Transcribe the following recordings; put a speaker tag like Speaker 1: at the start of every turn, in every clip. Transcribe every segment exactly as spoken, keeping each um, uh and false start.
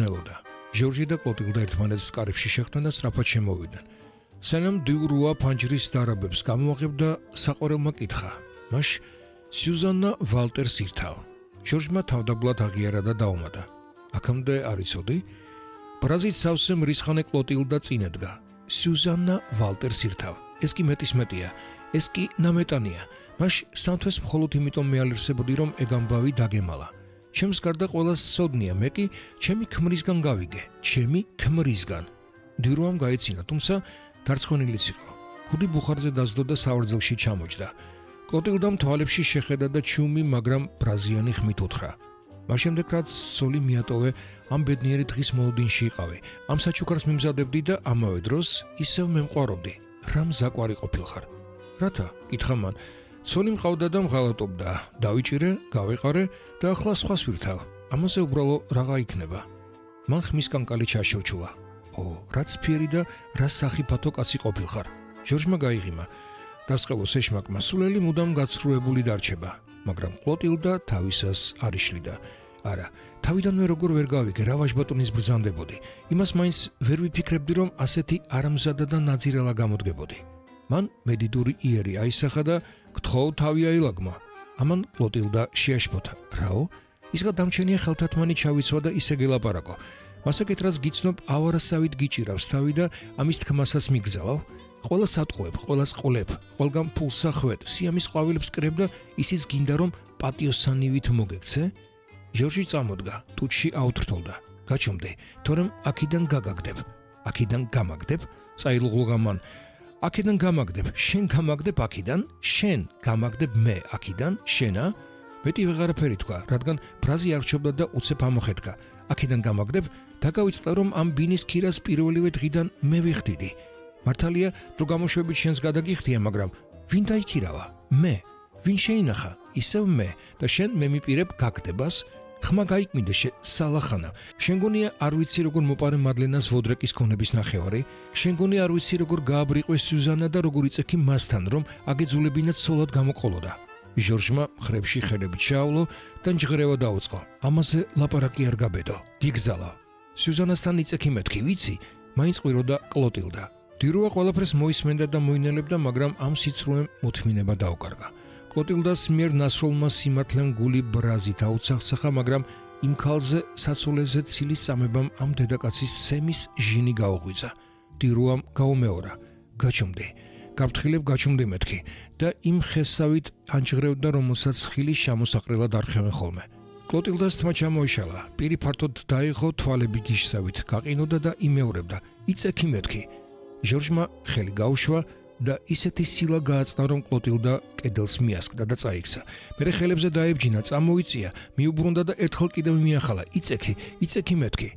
Speaker 1: ნელოდა. ჟორჟი და კლოტილდა ერთმანეთს კარებში შეხვდნენ და სწრაფად შემოვიდნენ. სანამ დიურუა ფანჯრის დარაბებს გამოაღებდა, საყვარელმა კითხა: "მაშ სიუზანნა ვალტერს ირთავ?" ჟორჟმა თავდაბლად აღიარა და დაუმატა: "აქამდე არ იცოდი?" ბრაზით სავსე მრისხანე კლოტილდა წინ ედგა. "სიუზანნა ვალტერს ირთავ. ეს კი მეტის მეტია. ეს კი ნამეტანია. მაშ სამთვეს მხოლოდ იმიტომ მეალერსებოდი, რომ ეგ ამბავი დაგემალა. ჩემს გარდა ყველას სოდნია, მე კი ჩემი ქმრისგან გავიგე, ჩემი ქმრისგან." დიურუამ გაეცინა, თუმცა დარწმუნილიც იყო. ქუდი ბუხარზე დაძდო და საორძელში ჩამოჯდა. კლოტილდამ თვალებში შეხედა და ჩუმი, მაგრამ ბრაზიანი ხმით უთხრა: "მას შემდეგ რაც სოლი მიატოვე, ამ ბედნიერი დღის მოლოდინში იყავი. ამ საჩუქარს მიმზადებდი და ამავე დროს ისევ მემყვარობდი. რა მზაკვარი ყოფილხარ?" "რათა?" კითხა მან. "სოლი მყავდა და მღალატობდა. დავიჭირე, გავეყარე და ახლა სხვას ვირთავ. ამაზე უბრალო რაღა იქნება." მან ხმის კანკალი ჩაშორჩულა. "ო, რაც ფიერი და რა სახიფათო კაცი ყოფილხარ." ჟორჟმა გაიღიმა. დასყელოს ეშმაკმა სულელი მუდამ გაცრუებული დარჩება, მაგრამ კლოტილდა თავისას არ იშლიდა. "არა, თავიდანვე როგორ ვერ გავიგე, რა ვაჟბატონის ბრძანდებოდი. იმას მაინც ვერ ვიფიქრებდი, რომ ასეთი არამზადა და ნაძირალა გამოდგებოდი." მან მედიდური იერი აისახა და "გთხოვ, თავი აილაგმა." ამან კლოტილდა შეაშფოთა. "რაო? ისღა დამჩენია ხელთათმანი ჩავიცვა და ისე გელაპარაკო. მასაკეთ რაც გიცნობ, ავარასავით გიჭირავს თავი და ამის თქმასაც მიგზალავ. ყველას ატყუებ, ყველას ყოლებ, ყველგან ფულს ახვედ, სიამის ყვავილებს კრებ და ისიც გინდა რომ პატიოსანივით მოგექცე?" ჟორჟი წამოდგა, ტუჩში აუთრთოლდა. "გაჩომდე, თორემ აქიდან გაგაგდებ." "აქიდან გამაგდებ?" წაილღუღა მან. "აქედან გამაგდებ, შენ გამაგდებ აქიდან, შენ გამაგდებ მე აქიდან, შენა?" მეტი ვეღარაფერი თქვა, რადგან ბრაზი არ რჩებდა და უცებ ამოხეთქა. "აქედან გამაგდებ, დაგავიწყდა რომ ამ ბინის ქირას პირველივე დღიდან მე ვიხდიდი. მართალია, დრო გამოშვებით შენს გადაგიხდია, მაგრამ ვინ დაიქირავა? მე. ვინ შეინახა? ისევ მე და შენ მე მიპირებ გაგდებას? ხმა გაიკმინდა შე სალახანა. შენ გონია არ ვიცი როგორ მოპარე მადლენას ვოდრეკის ქონების ნახევარი? შენ გონია არ ვიცი როგორ გააბრიყვე სიუზანა და როგორ იწექი მასთან, რომ აგეძულებინათ სოლად გამოყოლოდა?" ჟორჟმა ხრებში ხელებით ჩაავლო და ნჯღრევა დაუწყო. "ამაზე ლაპარაკი არ გაბედო. გიგზალა. სიუზანასთან იწექი მეთქი, ვიცი?" მაინც ყვიროდა კლოტილდა. დიურუა ყველაფერს მოისმენდა და მოინელებდა, მაგრამ ამ სიცრუემ მოთმინება დაუკარგა. კლოტილდას მიერ ნასროლმა სიმართლემ გული ბრაზით აუცახსახა, მაგრამ იმ ქალზე საცოლეზე ცილის წამებამ ამ დედაკაცის სემის ჟინი გაუღვიძა. დიურუამ გაუმეორა: "გაჩომდე, გაფრთხილებ, გაჩომდე მეთქი" და იმ ხესავით ანჯღრევდა, რომელსაც ხილის შემოსაყრელად არხევენ ხოლმე. კლოტილდას თმა ჩამოიშალა, პირი ფართოდ დაიღო, თვალები გიშსავით გაყინოდა და იმეორებდა: "იწექი მეთქი." ჟორჟმა ხელი გაუშვა და ისეთი სილა გააწნა, რომ კლოტილდა კედელს მიასკდა და წაიქცა. მერე ხელებზე დაებჯინა, წამოიწია, მიუბრუნდა და ერთხელ კიდევ მიახალა: "იწექი, იწექი მეთქი."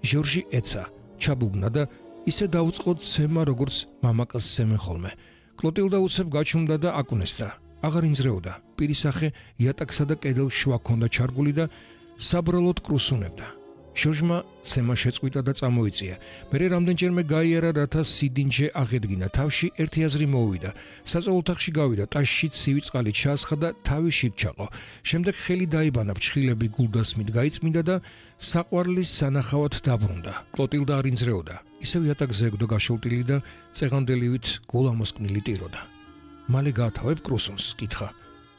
Speaker 1: ჟორჟი ეცა, ჩაბუბნა და ისე დაუწყო ცემა, როგორც მამაკაცს სემენ ხოლმე. კლოტილდა უცებ გაჩუმდა და აკუნესდა. აღარ ინძრეოდა. პირისახე იატაკსა და კედელს შვა ჰქონდა ჩარგული და საბრალოდ კრუსუნებდა. ჟორჟმა ცემა შეწყვიტა და წამოიწია. მერე რამდენჯერმე გაიარა, რათა სიდინჯე აღედგინა. თავში ერთი აზრი მოუვიდა. საწოლ ოთახში გავიდა, ტაშში ცივი წყალი ჩაასხა და თავი შიგ ჩაყო. შემდეგ ხელი დაიბანა, ფრჩხილები გულდასმით გაიწმინდა და საყვარლის სანახავად დაბრუნდა. კლოტილდა არ ინძრეოდა. ისევ იატაკზე ეგდო გაშოლტილი და წეღანდელივით გულამოსკნილი ტიროდა. "მალე გაათავებ კრუსუნს?" კითხა.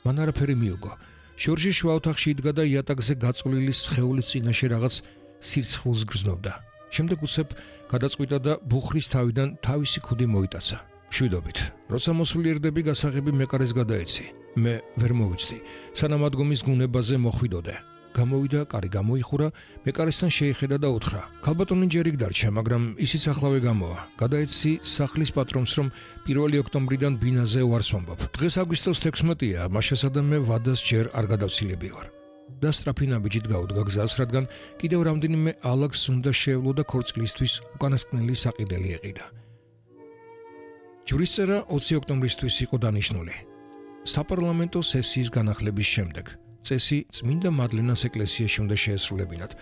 Speaker 1: მან არაფერი მიუგო. ჟორჟი შუა ოთახში იდგა და იატაკზე გაწოლილი სხეულის წინაშე რაღაც სირცხვილს გრძნობდა. შემდეგ უცებ გადაწყვიტა და ბუხრის თავიდან თავისი ქუდი მოიტაცა. მშვიდობით. როცა მოსულიერდები, გასაღები მეკარეს გადაეცი. მე ვერ მოვიცდი. სანამ ადგომის გუნებაზე მოხვიდოდე. გამოვიდა, კარი გამოიხურა, მეკარესთან შეიხედა და უთხრა: "ქალბატონი ჯერ იქ დარჩა, მაგრამ ისიც ახლავე გამოვა. გადაეცი სახლის პატრონს, რომ პირველი ოქტომბრიდან ბინაზე უარს ვამბობ. დღეს აგვისტოს თექვსმეტია, მაშასა და მე ვადას ჯერ არ გადავცილები ვარ." და სწრაფი ნაბიჯით გაუდგა გზას, რადგან კიდევ რამდენიმე ალაგს უნდა შეევლო და ქორწილისთვის უკანასკნელი საყიდელი ეყიდა. ჯვრისწერა ოცი ოქტომბრისთვის იყო დანიშნული. საპარლამენტო სესიის განახლების შემდეგ. წესი წმინდა მადლენას ეკლესიაში უნდა შეესრულებინათ.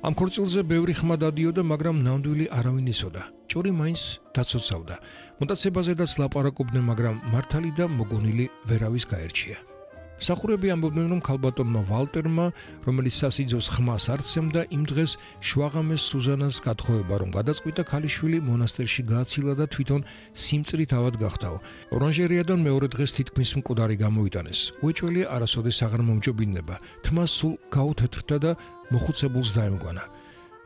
Speaker 1: ამ ქორწილზე ბევრი ხმა დადიოდა, მაგრამ ნამდვილი არავინ იცოდა. ჭორი მაინც დაცოცავდა. მონტაცებაზედაც ლაპარაკობდნენ, მაგრამ მართალი და მოგონილი ვერავის გაერჩია. სახურები ამბობდნენ, რომ ქალბატონმა ვალტერმა, რომელიც სასიძოს ხმას არ სცემდა, იმ დღეს შვაღამეს სუზანას გათხოვება, რომ გადაწყვიტა ქალიშვილი მონასტერში გააცილა და თვითონ სიმწრით ავად გახდაო. ორანჟერეიდან მეორე დღეს თითქმის მკვდარი გამოიტანეს. უეჭველი არასოდეს აღარ მომჯობინდება. თმა სულ გაუთეთრდა და მოხუცებულს დაემგვანა.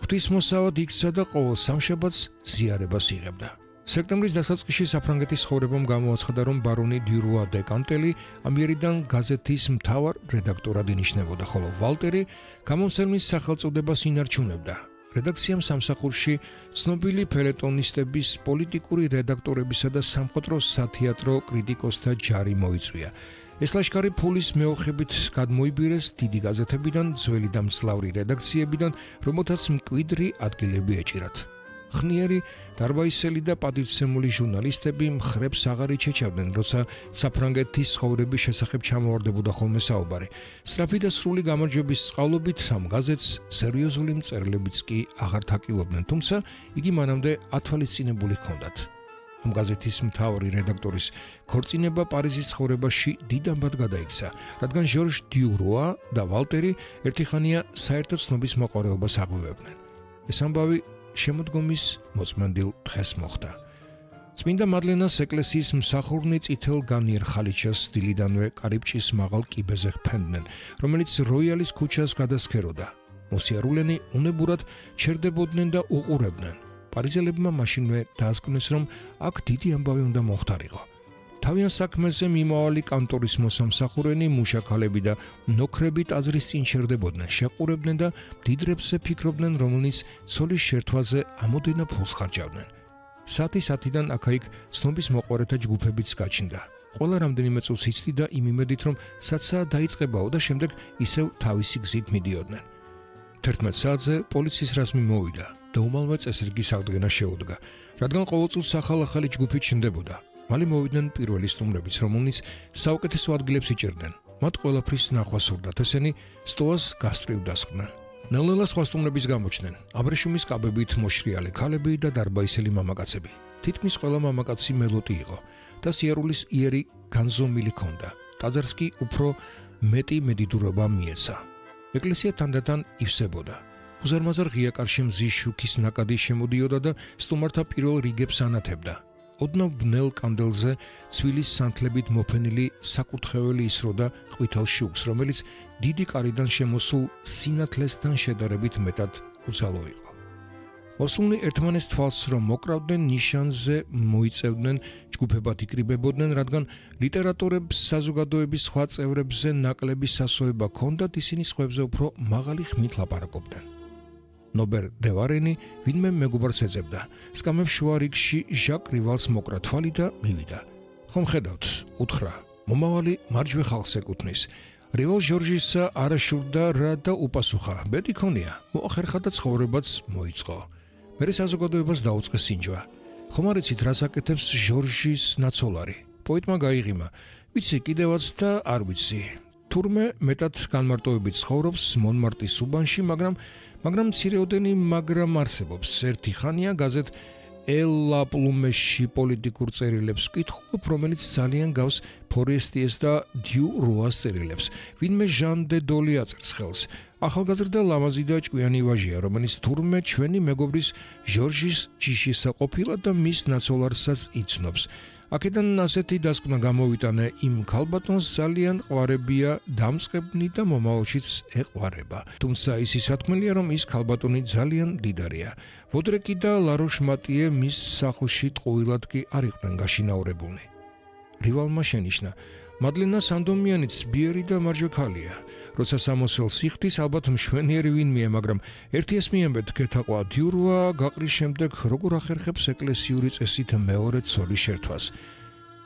Speaker 1: ღვთისმოსავად იქცა და ყოველ სამშაბათს ზიარებას იღებდა. სექტემბრის დასაწყისში საფრანგეთის ცხოვრებამ გამოაცხადა, რომ ბარონი დიურუა დე კანტელი ამიერიდან გაზეთის მთავარ რედაქტორად ინიშნებოდა, ხოლო ვალტერი გამომცემლის სახელწოდებას ინარჩუნებდა. რედაქციამ სამსახურში ცნობილი ფელეტონისტების, პოლიტიკური რედაქტორებისა და სამხატვრო სათეატრო კრიტიკოსთა ჯარი მოიწვია. ეს ლაშქარი ფულის მეოხებით გადმოიბირეს დიდი გაზეთებიდან, ძველი და მძლავრი რედაქციებიდან, რომელთაც მკვიდრი ადგილები ეჭირათ. ხნიერი, დარბაისელი და პატივცემული ჟურნალისტები მხრებს აღარ იჩეჩავდნენ, როცა საფრანგეთის ცხოვრების შესახებ ჩამოვარდებოდა ხოლმე საუბარი. სწრაფი და სრული გამარჯვების წყალობით ამ გაზეთს სერიოზული მწერლებიც კი აღარ თაკილობდნენ, თუმცა იგი მანამდე ათვალისწინებული ჰქონდათ. ამ გაზეთის მთავარი რედაქტორის ქორწინება პარიზის ცხოვრებაში დიდამბად გადაიქცა, რადგან ჟორჟ დიურუა და ვალტერი ერთხანია საერთო ცნობის მოყვარეობას აღვივებდნენ. ეს ამბავი შემოდგომის მოწმენდილ დღეს მოხდა. წმინდა მადლენას ეკლესიის მსახურნი წითელ განიერ ხალიჩას დილიდანვე კარიბჭის მაღალ კიბეზე ჰფენდნენ, რომელიც როიალის ქუჩას გადასქეროდა. მოსიარულენი უნებურად ჩერდებოდნენ და უყურებდნენ. პარიზელებმა მაშინვე დაასკვნეს, რომ აქ დიდი ამბავი უნდა მოხდარიყო. თავიანთ საქმეზე მიმავალი კანტორის მოსამსახურენი, მუშაქალები და ნოქრები ტაძრის წინ შერდებოდნენ, შეყურებდნენ და დიდრებზე ფიქრობდნენ, რომელნიც ცოლის შერთვაზე ამოდენა ფულს ხარჯავდნენ. საათი-საათიდან აქა-იქ ცნობის მოყვარეთა ჯგუფებიც გაჩნდა. ყველა რამდენიმე წუთს იცდიდა იმ იმედით, რომ საცაა დაიწყებაო და შემდეგ ისევ თავისი გზით მიდიოდნენ. თერთმეტ საათზე პოლიციის რაზმი მოვიდა და უმალვე წესრიგის აღდგენა შეუდგა, რადგან ყოველწუთს ახალ-ახალი ჯგუფი ჩნდებოდა. მალე მოვიდნენ პირველი სტუმრებიც, რომელნიც საუკეთესო ადგილებს იჭერდნენ. მათ ყველაფრის ნახვა სურდათ, ესენი სტოას გასწვრივ დასხდნენ. ნელ-ნელა სხვა სტუმრების გამოჩნდნენ. აბრეშუმის კაბებით მოშრიალე ქალები და დარბაისელი მამაკაცები. თითქმის ყველა მამაკაცი მელოტი იყო და სიარულის იერი განზომილი ჰქონდა. ტაძარს კი უფრო მეტი მედიდურობა მიეცა. ეკლესია თანდათან ივსებოდა. უზარმაზარ ღია კარში მზის შუქის ნაკადი შემოდიოდა და სტუმართა პირველ რიგებს ანათებდა. ოდნავ ბნელ კანდელზე ცვილის სანთლებით მოფენილი საკურთხეველი ისროდა ყვითელ შუქს, რომელიც დიდი კარიდან შემოსულ სინათლესთან შედარებით მეტად უცალო იყო. მოსულნი ერთმანეს თვალს რომ მოკრავდნენ, ნიშანზე მოიწევდნენ, ჯგუფებად იკრიბებოდნენ, რადგან ლიტერატორებს საზოგადოების სხვა წევრებზე ნაკლები სასოება ჰქონდათ, ისინი სხვებზე უფრო მაღალი ხმით ლაპარაკობდნენ. ნობერ დე ვარენი ვინმე მეგობარს ეძებდა. სკამებს შუა რიგში ჟაკ რივალს მოკრა თვალი და მივიდა. ხომ ხედავთ, უთხრა, მომავალი მარჯვე ხალხს ეკუთვნის. რივალ ჟორჟისა არაშურდა რა და უპასუხა. ბედი ქონია, მოახერხა და ცხოვრებაც მოიწყო. მერე საზოგადოებას დაუწყეს სინჯვა. ხომ არ იცით რას აკეთებს ჟორჟის ნაცოლარი? პოეტმა გაიღიმა. ვიცი კიდევაც და არ ვიცი. თურმე მეტად განმარტოებით ცხოვრობს მონმარტის უბანში, მაგრამ მაგრამ მცირეოდენი მაგრამ არსებობს. ერთი ხანია გაზეთ ელლა პლუმეში პოლიტიკურ წერილებს ვკითხულობ, რომელიც ძალიან გავს ფორესტიეს და დიუ როას წერილებს. ვინმე ჟან დე დოლი აწერს ხელს. ახალგაზრდა ლამაზი და ჭკვიანი ვაჟია, რომელიც თურმე ჩვენი მეგობრის ჟორჟის ჯიშისა ყოფილა და მის ნაცოლარსაც იცნობს. აქედან ასეთი დასკვნა გამოვიტანე, იმ ქალბატონს ძალიან ყვარებია, დამწყებნი და მომავალშიც ეყვარება. თუმცა ისი სათქმელია, რომ ის ქალბატონი ძალიან მდიდარია. ვოდრეკი და ლაროშ-მატიე მის სახლში ტყუილად კი არ იყვნენ გაშინაურებულნი. რივალმა შენიშნა, მადლენა სანდომიანიც ბიერი და მარჯვე ქალია. როცა სამოსელს იხდის, ალბათ მშვენიერი ვინმეა, მაგრამ ერთი ესმიამბეთ გეთაყვა დიურუა გაყრის შემდეგ როგორ ახერხებს ეკლესიური წესით მეორე ცოლის შერთვას.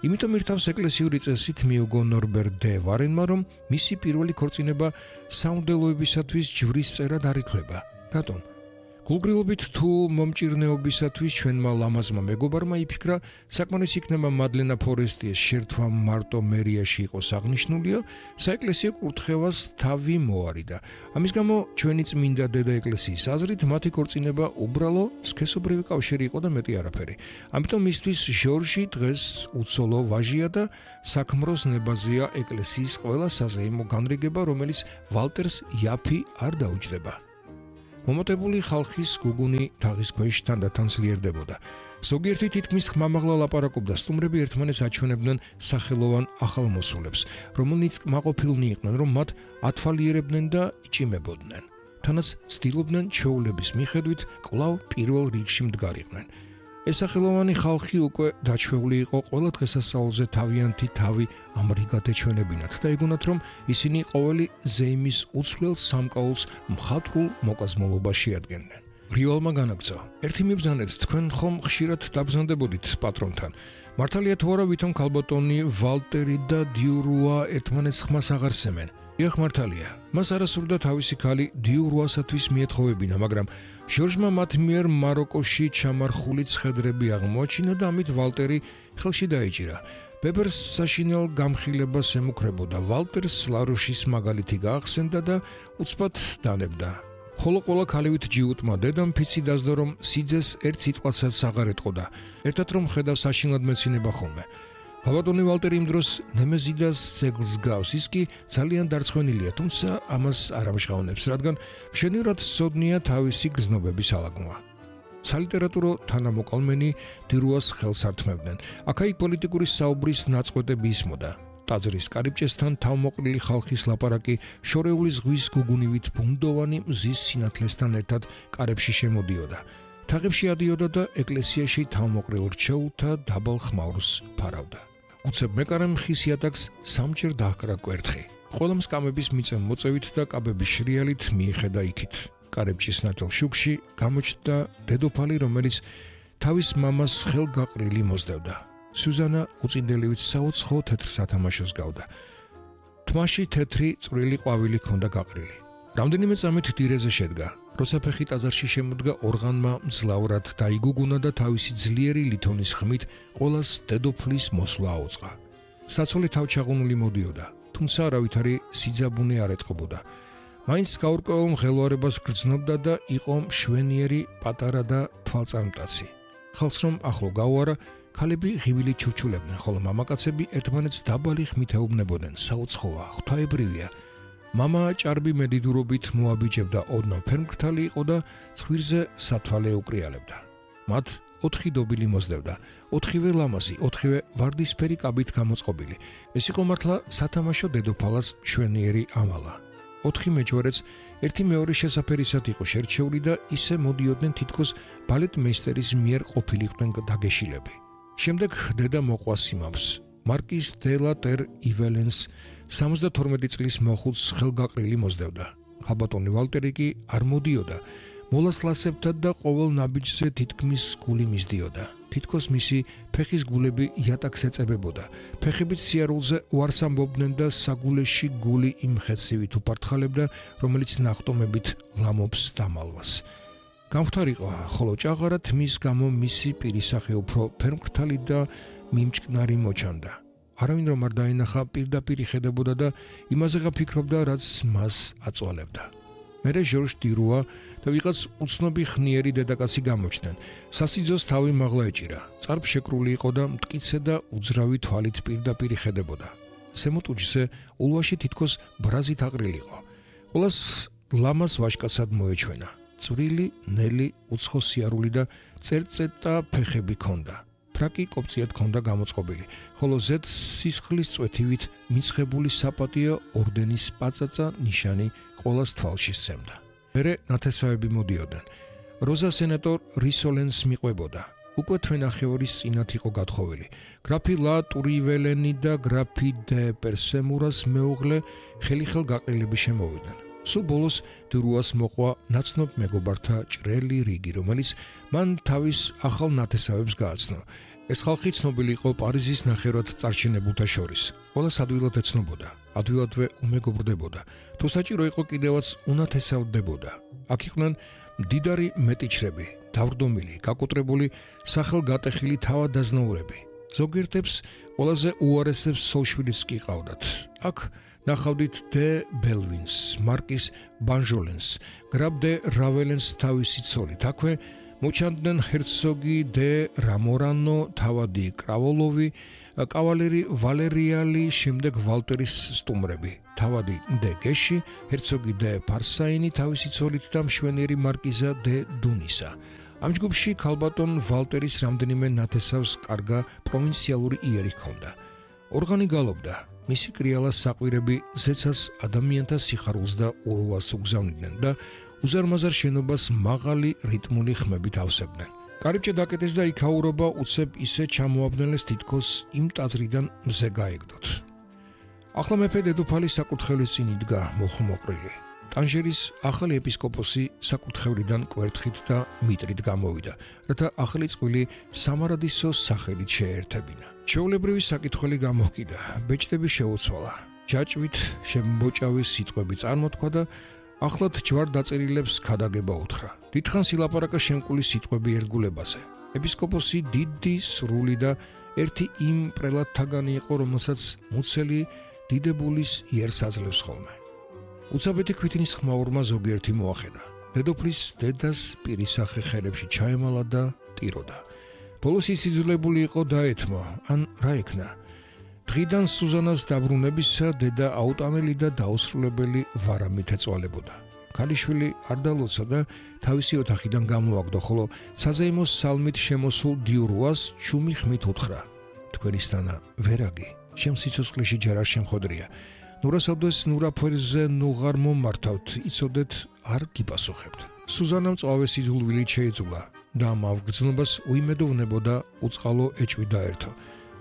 Speaker 1: იმიტომ ირთავს ეკლესიური წესით მიუგო ნორბერ დე ვარენმა, რომ მისი პირველი ქორწინება საუნდელოებისათვის ჯვრის წერად არ ითვლება. რატომ? გულგრილობით თუ მომჭირნეობისათვის ჩვენმა ლამაზმა მეგობარმა იფიქრა, საკმარის იქნება მადლენა ფორესტიეს შერთვა მარტო მერიაში იყოს აღნიშნულია, საეკლესიო კურთხევას თავი მოარიდა. ამის გამო ჩვენი წმინდა დედა ეკლესიის აზრით მათი ქორწინება უბრალო სქესობრივი კავშირი იყო და მეტი არაფერი. ამიტომ მისთვის ჟორჟი დღეს უცოლო ვაჟია და საქმროს ნებაზია ეკლესიის ყველა საზეიმო განრიგება, რომელიც ვალტერს იაფი არ დაუჯდება. მომოტებული ხალხის გუგუნი თაღის ქვეშ თანდათან ძლიერდებოდა. ზოგიერთი თითქმის ხმამაღლა ლაპარაკობდა, სტუმრები ერთმანეთს აჩვენებდნენ სახელოვან ახალმოსულებს, რომელნიც კმაყოფილნი იყვნენ, რომ მათ ათვალიერებდნენ და იჭიმებოდნენ. თანაც ცდილობდნენ ჩვეულების მიხედვით კვლავ პირველ რიგში მდგარიყვნენ. ეს სახელოვანი ხალხი უკვე დაჩვეული იყო ყველა დღესასწაულზე თავიანთი თავი ამრიგად ეჩვენებინათ და ეგონათ, რომ ისინი ყოველი ზეიმის უცვლელ სამკაულს მხატვრულ მოკაზმულობაში ადგენდნენ. რივალმა განაგრძო. ერთი მიბრძანეთ, თქვენ ხომ ხშირად დაბრძანდებოდით პატრონთან. მართალია თუ არა, ვითომ ქალბატონი ვალტერი და დიურუა ერთმანეთს ხმას აღარ სემენ. იახ მართალია. მას არასურდა თავისი ქალი დიურუასათვის მიეთხოვებინა, მაგრამ ჟორჟმა მათ მიერ მაროკოში ჩამარხული ცხედრები აღმოაჩინა და ამით ვალტერი ხელში დაიჭირა. ბებერს საშინელ გამხილებას ემუქრებოდა. ვალტერს ლაროშის მაგალითი გაახსენდა და უცბად დანებდა. ხოლო ყველა ქალივით ჯიუტმა დედამ ფიცი დასდო, რომ სიძეს ერთ სიტყვასაც აღარ ეტყოდა. ერთად რომ ხედავ საშინლად მეცინება ხოლმე. ქალბატონი ვალტერი იმ დროს ნემეზიდას ძეგლს გავს, ის კი ძალიან დარწმუნილია, თუმცა ამას არ ამჟღავნებს, რადგან მშვენივრად სცოდნია თავისი გრძნობების ალაგმა. სალიტერატურო თანამოყალმენი დირუას ხელს ართმევდნენ. აქა-იქ პოლიტიკური საუბრის ნაწყვეტები ისმოდა. ტაძრის კარიბჭესთან თავმოყრილი ხალხის ლაპარაკი შორეული ზღვის გუგუნივით ბუნდოვანი მზის სინათლესთან ერთად კარებში შემოდიოდა. თაღებში ადიოდა და ეკლესიაში თავმოყრილ რჩეულთა დაბალ ხმაურს ფარავდა. უცებ მეკარემ ხის იატაკს სამჯერ დაჰკრა კვერთხი. ყველა მსკამების მიწემ მოწევით და კაბების შრიალით მიეხედა იქით. კარებჭის ნათელ შუქში გამოჩნდა დედოფალი, რომელიც თავის მამას ხელგაყრილი მოსდევდა. სუზანა უწინდელივით საუცხო თეთრ სათამაშოს გავდა. თმაში თეთრი წვრილი ყვავილი ჰქონდა გაყრილი. რამდენიმე წამით დირეზე შედგა. როსაფეხი ტაძარში შემოდგა ორღანმა მძლავრად დაიგუგუნა და თავისი ძლიერი ლითონის ხმით ყველას დედოფლის მოსვლა აუწყა. საცოლე თავჩაღუნული მოდიოდა, თუმცა არავითარი სიძაბუნე არ ეტყობოდა. მაინც გაურკვეველ მღელვარებას გრძნობდა და იყო მშვენიერი, პატარა და თვალწარმტაცი. ხალხს რომ ახლო გაუარა, ქალები ღივილით ჩურჩულებდნენ, ხოლო მამაკაცები ერთმანეთს დაბალი ხმით ეუბნებოდნენ. საუცხოა, ღვთაებრივია. მამა ჭარბი მედიდურობით მოაბიჯებდა, ოდნავ ფერმკრთალი იყო და ცხვირზე სათვალე უკრიალებდა. მათ ოთხი დობილი მოსდევდა, ოთხივე ლამაზი, ოთხივე ვარდისფერი კაბით გამოწყობილი. ეს იყო მართლა სათამაშო დედოფალას მშვენიერი ამალა. ოთხი მეჯვარეც ერთი მეორე შესაფერისად იყო შერჩეული და ისე მოდიოდნენ, თითქოს ბალეტმეისტერის მიერ ყოფილიყვნენ დაგეშილები. შემდეგ დედა მოყვა სიმავს. მარკიზ დე ლა ტერ იველენს სამოცდათორმეტი წლის მოხუცს ხელგაყრილი მოსდევდა. ქალბატონი ვალტერი კი არ მოდიოდა. მოლასლასებთან და ყოველ ნაბიჯზე თითქმის გული მისდიოდა. თითქოს მისი ფეხის გულები იატაკს ეწებებოდა. ფეხებით სიარულზე უარს ამბობდნენ და საგულეში გული იმ ხეცივით უფართხალებდა, რომელიც ნახტომებით ლამობს დამალვას. გამხდარიყო, ხოლო ჭაღარა თმის გამო მისი პირისახე უფრო ფერმკრთალი და მიმჭკნარი მოჩანდა. არავინ რომ არ დაინახა, პირდაპირ იხედებოდა და იმაზეღა ფიქრობდა, რაც მას აწვალებდა. მერე ჟორჟ დირუა და ვიღაც უცნობი ხნიერი დედაკაცი გამოჩნდნენ. სასიძოს თავი მაღლა ეჭირა. წარბ შეკრული იყო და მტკიცე და უძრავი თვალით პირდაპირ იხედებოდა. ზემოთ უჯზე ულვაში თითქოს ბრაზით აყრილიყო. ყველას ლამას ვაჟკაცად მოეჩვენა. წვრილი, ნელი, უცხო სიარული და წერწეტა ფეხები ჰქონდა. ფრაკი კოპციად ჰქონდა გამოწყობილი, ხოლო ზედ სისხლის წვეთივით მიცხებული საპატიო ორდენის პაწაწა ნიშანი ყოველს თვალში სცემდა. მერე ნათესავები მოდიოდნენ. როზა სენატორ რისოლენს მიყვებოდა. უკვე თვენახევრის წინათ იყო გათხოვილი. გრაფი ლა ტურიველენი და გრაფი დე პერსემურას მეუღლე ხელიხელ გაყრილები შემოვიდნენ. სულ ბოლოს დირუას მოყვა ნაცნობ მეგობართა ჭრელი რიგი, რომელიც მან თავის ახალ ნათესავებს გააცნო. ეს ხალხი ცნობილი იყო პარიზის ნახევრად წარჩინებულთა შორის. ყველას ადვილად ეცნობოდა, ადვილადვე უმეგობრდებოდა. თუ საჭირო იყო, კიდევაც უნათესავდებოდა. აქ იყვნენ მდიდარი მეტიჩრები, დავრდომილი, გაკოტრებული, სახელგატეხილი თავადაზნაურები. ზოგიერთებს ყველაზე უარესებს სოლშვილიც კი ყავდათ. აქ ნახავდით დე ბელვინს, მარკის ბანჟოლენს, გრაბ დე რაველენს თავისი ცოლით. აქვე მოჩანდნენ ჰერცოგი დე რამორანო, თავადი კრავოლოვი, კავალერი ვალერიალი, შემდეგ ვალტერის სტუმრები, თავადი დე გეში, ჰერცოგი დე ფარსაინი თავისი ცოლით და მშვენიერი მარკიზა დე დუნისა. ამ ჯგუფში ქალბატონ ვალტერის რამდენიმე ნათესავს კარგა პროვინციალური იერი ჰქონდა. ორღანი გალობდა, მისი კრიალა საყვირები ზეცას ადამიანთა სიხარულს და ურვას უგზავნიდნენ და უზარმაზარ შენობას მაღალი რიტმული ხმებით ავსებდნენ. კარიბჭე დაკეტეს და იქაურობა უცებ ისე ჩამოაბნელეს თითქოს იმ ტაძრიდან მზე გაეგდოთ. ახლა მეფე დედოფალი საკურთხევლის წინ იდგა მოხმოყრილი. ტანჟერის ახალი ეპისკოპოსი საკურთხევლიდან კვერთხით და მიტრით გამოვიდა, რათა ახალი წყვილი სამარადისოს სახელით შეერთებინა. ჩვეულებრივი საკითხველი გამოჰკიდა, ბეჭდები შეუცვალა, ჯაჭვით შემბოჭავის სიტყვები წარმოთქვა და ახლად ჯვარ დაწერილებს ქადაგება უთხრა. დიდხანს ილაპარაკა შემკული სიტყვები ერთგულებაზე. ეპისკოპოსი დიდი, სრული და ერთი იმ პრელატთაგანი იყო, რომელსაც მუცელი დიდებულის იერს აძლევს ხოლმე. უცაბეთი ქვითინის ხმაურმა ზოგიერთი მოახედა. დედოფლის დედას პირისახე ხელებში ჩაემალა და ტიროდა. ბოლოს ის იძულებული იყო დაეთმო, ან რა იქნა. დღიდან სუზანას დაბრუნებისა დედა აუტანელი და დაუსრულებელი ვარამით ეწვალებოდა. ქალიშვილი არ დალოცა და თავისი ოთახიდან გამოაგდო, ხოლო საზეიმოს სალმით შემოსულ დიურუას ჩუმი ხმით უთხრა. თქვენისთანა ვერაგი, შემ სიცოცხლეში ჯერ არ შემხოდრია. ნურასავდეს ნურაფერზე ნუღარ მომართავთ, იცოდეთ არ გიპასუხებთ. სუზანამ წვავეს იძულვილით შეიძულა და ამ ავგრძნობას უიმედოვნებოდა უწყალო ეჭვი დაერთო.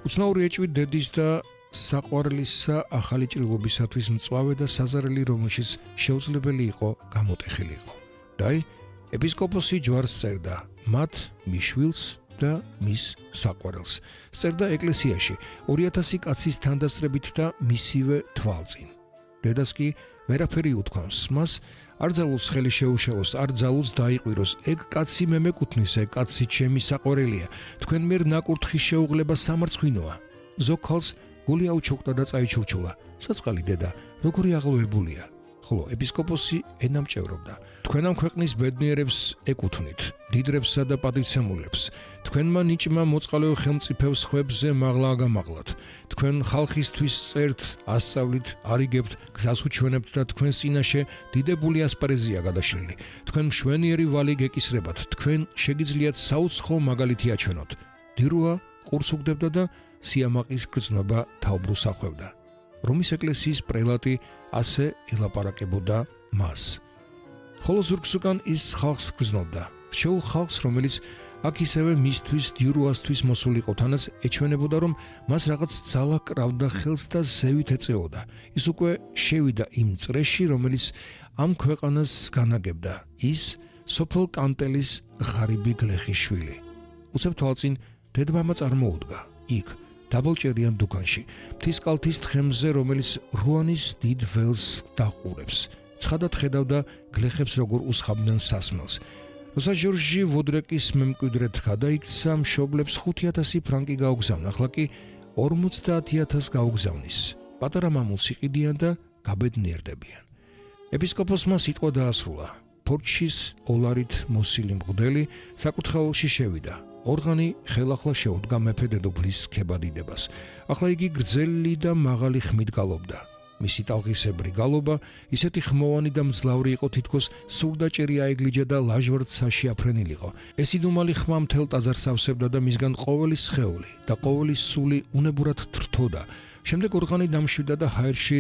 Speaker 1: უცნაური ეჭვი დედის და საყვარლისა ახალი ჭრილობისათვის მწვავე და საზარელი, რომელშიც შეუძლებელი იყო გამოტეხილიყო. დაი, ეპისკოპოსი ჯვარს წერდა, მათ მიშვილს და მის საყვარელს. წერდა ეკლესიაში, ორი ათასი კაცის თანდასწრებით და მისივე თვალწინ. დედას კი ვერაფერი უთქვამს, მას არ ძალუց ხელი შეუშელოს, არ ძალუც დაიყვიროს. ეგ კაცი მე მეკუთვნის, ეგ კაცი ჩემი საყვარელია. თქვენ მიერ ნაკურთხის შეუღლება სამარცხვინოა. ზოგ ქალს გული აუჩუქდა და წაიჩურჩულა. საწყალი დედა, როგორი აღლოვებულია. ხოლო ეპისკოპოსი ენამჭევრობდა. თქვენ ამ ქვეყნის ბედნიერებს ეკუთვნით, დიდრებსა და პატივცემულებს. თქვენმა ნიჭმა მოწყალეო ხელმწიფეებს ხვებზე მაღლა აგამაღლათ. თქვენ ხალხისთვის წერთ, ასწავლით, არიგებთ, გზას უჩვენებთ და თქვენ წინაშე დიდებული ასპარეზია გადაშლილი. თქვენ მშვენიერი ვალი გეკისრებათ, თქვენ შეგიძლიათ საუცხო მაგალითი აჩვენოთ. დირუა ყურს უგდებდა და სიამაყის გრძნობა თაუბრუს ახვევდა. რომის ეკლესიის პრელატი ასე ელაპარაკებოდა მას. ხოლო ზურგს უკან ის ხალხს გრძნობდა. რჩეულ ხალხს, რომელიც აქ ისევე მისთვის დიურუასთვის მოსულიყო, თანაც ეჩვენებოდა, რომ მას რაღაც ძალა კრავდა ხელს და ზევით ეწეოდა. ის უკვე შევიდა იმ წრეში, რომელიც ამ ქვეყანას განაგებდა. ის სოფელ კანტელის ღარიბი გლეხის შვილი. უცებ თვალწინ დედმამა წარმოუდგა. იქ დაბოლჭერიან დუქანში, მთის კალთის თხემზე, რომელიც რუანის დიდ ველს დაყურებს. ცხადად ხედავდა გლეხებს როგორ უსხამდნენ სასმელს. როცა ჟორჟი ვოდრეკის მემკვიდრედ გადაიქცა, მშობლებს ხუთი ათასი ფრანკი გაუგზავნა, ახლა კი ორმოცდაათი ათასს გაუგზავნის. პატარა მამულს იყიდიან და გაბედნიერდებიან. ეპისკოპოსმა სიტყვა დაასრულა. ფორჩის ოლარით მოსილი მღვდელი საკურთხეველში შევიდა. ორღანი ხელახლა შეუდგა მეფე დედოფლის ქებადიდებას. ახლა იგი გრძელი და მაღალი ხმით გალობდა. მისი ტალღისებრი გალობა ისეთი ხმოვანი და მძლავრი იყო, თითქოს სურდაჭერი აეგლიჯა და ლაჟვარდ საშიაფრენილიყო. ეს იდუმალი ხმა მთელ ტაძარს ავსებდა და მისგან ყოველი სხეული და ყოველი სული უნებურად თრთოდა. შემდეგ ორღანი დამშვიდა და ჰაერში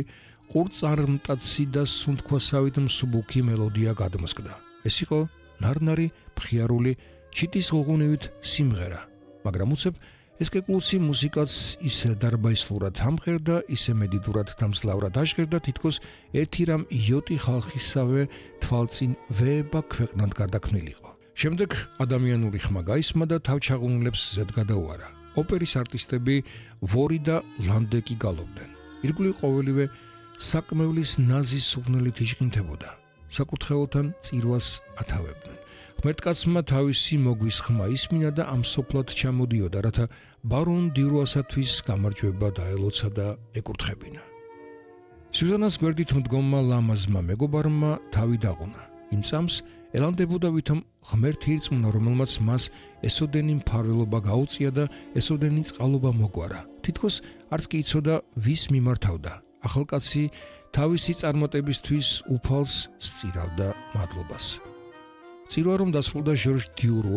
Speaker 1: ყურწარმტაცი და სუნთქვასავით მსუბუქი მელოდია გადმოსკდა. ეს იყო ნარნარი, მხიარული, ჩიტის ღუღუნივით სიმღერა, მაგრამ უცებ ეს კეკლუსი მუსიკაც ისე დარბაისლურად ამღერდა, ისე მედიდურად და მძლავრად აშღერდა, თითქოს ერთი რამ იოტი ხალხისავე თვალწინ ვეება ქვეყნად გარდაქმნილიყო. შემდეგ ადამიანური ხმა გაისმა და თავჩაღუნლებს ზედ გადაუარა. ოპერის არტისტები ვორი და ლანდეკი გალობდნენ. ირგვლივ ყოველივე საკმევლის ნაზის სუღნელით იჟღინთებოდა. საკურთხეველთან წირვას ათავებდნენ. ღმერთკაცმა თავისი მოგვის ხმა ისმინა და ამ სოფლად ჩამოდიოდა, რათა ბარონ დიურუასათვის გამარჯვება დაელოცა და ეკურთხებინა. სიუზანას გვერდით მდგომმა ლამაზმა მეგობარმა თავი დაღუნა. იმ წამს ელანდებოდა ვითომ ღმერთ ირწმუნა, რომელმაც მას ესოდენი მფარველობა გაუწია და ესოდენი წყალობა მოგვარა. თითქოს არც კი იცოდა ვის მიმართავდა. ახალკაცი თავისი წარმატებისთვის უფალს სწირავდა მადლობას. წირვა რომ დასრულდა ჟორჟ დიურუა